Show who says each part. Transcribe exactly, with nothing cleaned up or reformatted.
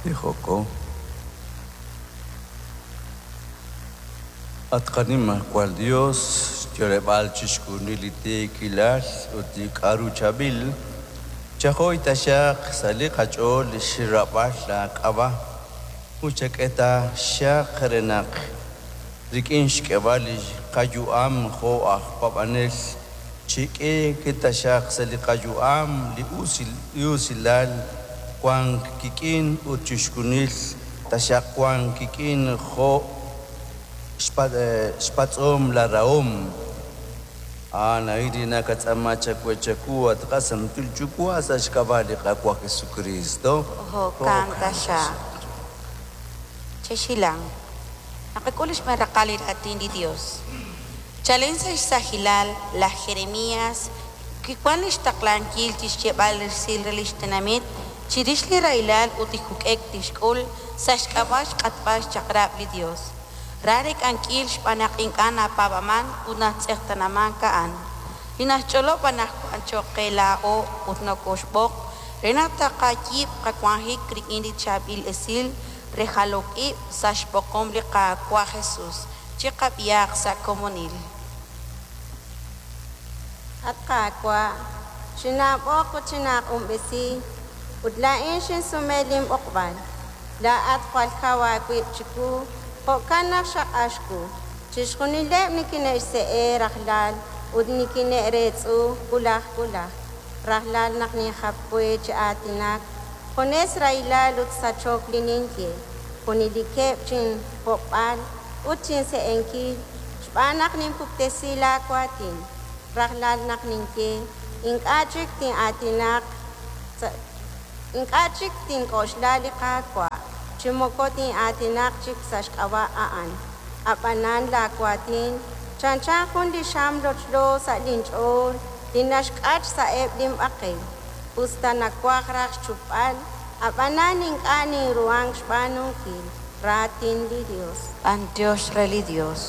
Speaker 1: Tijoko. At qanimajwal Dios, xyo'leb'aal chixjunil li tiikilal ut li k'aru chaab'il, chajoy taxaq sa' li qach'ool li xrab'al laak'ab'a' ut chak'e taxaq re naq rik'in xk'eb'al li qayu'am jo' aj paab'anel chik'iik taxaq sa' li qayu'am li usil li usilal wank kik'in ut chixjunil taxaq wank kik'in jo' xpa- xpatz'om la rahom. A'an a'in li nakatz'aama chawe chaku at qasantil Yuwa' sa' xk'ab'a' li Qaawa' Jesucristo.
Speaker 2: Jo'kan taxaq. Chexilang. Naqak'ul xb'een raqal li raatin li Dios. Chalen sa' xsahilal laj Jeremías kiwan lix taqlankil chixyeeb'al resil re lix tenamit chirix li rahilal ut li juk'ek tixk'ul sa' xk'ab'a' xq'atb'al xchaq'rab' li Dios. Ra rek'ankil xb'aan naq ink'a' napaab'aman ut natz'eqtanaman a'an. Li naxch'olob' anaqwan cho'q qe laa'o ut nokoxb'oq re naq taqayiib' qawanjik rik'in li chaab'il esil re jalok ib' sa' xb'oqom li Qaawa' Jesus chiqab'ihaq sa' komonil.
Speaker 3: At Qaawa', xinaab'oq ut xinaaq'unb'esi, ut laa'in xinsume linb'oqb'al. Laa'at jwal kaw aawib' chiwu, jo'kan naq xaq'ax wu. Chixjunileb' nikine'xse'e rajlal ut nikine'reetz'u wulaj wulaj. Rajlal naq ninjap we chi aatinak, junes rahilal ut sachok li ninye. Junelikeb' chinhob'b'al ut chinse'enkil xb'aan naq ninpuktesi laawaatin. Rajlal naq ninye, ink'a' chik tin'aatinaq sa- ink'a' chik tink'oxla li Qaawa', chi moko tin'aatinaq chik sa' xk'ab'a' a'an. Ab'anan laawaatin chanchan jun li xam lochlo sa' linch'ool li naxk'ach sa'eb' linb'aqel. Us ta nawaj raj xchupb'al, ab'anan ink'a' ninruhank xb'aanunkil. Raatin li Dios.
Speaker 2: B'antiox re li Dios.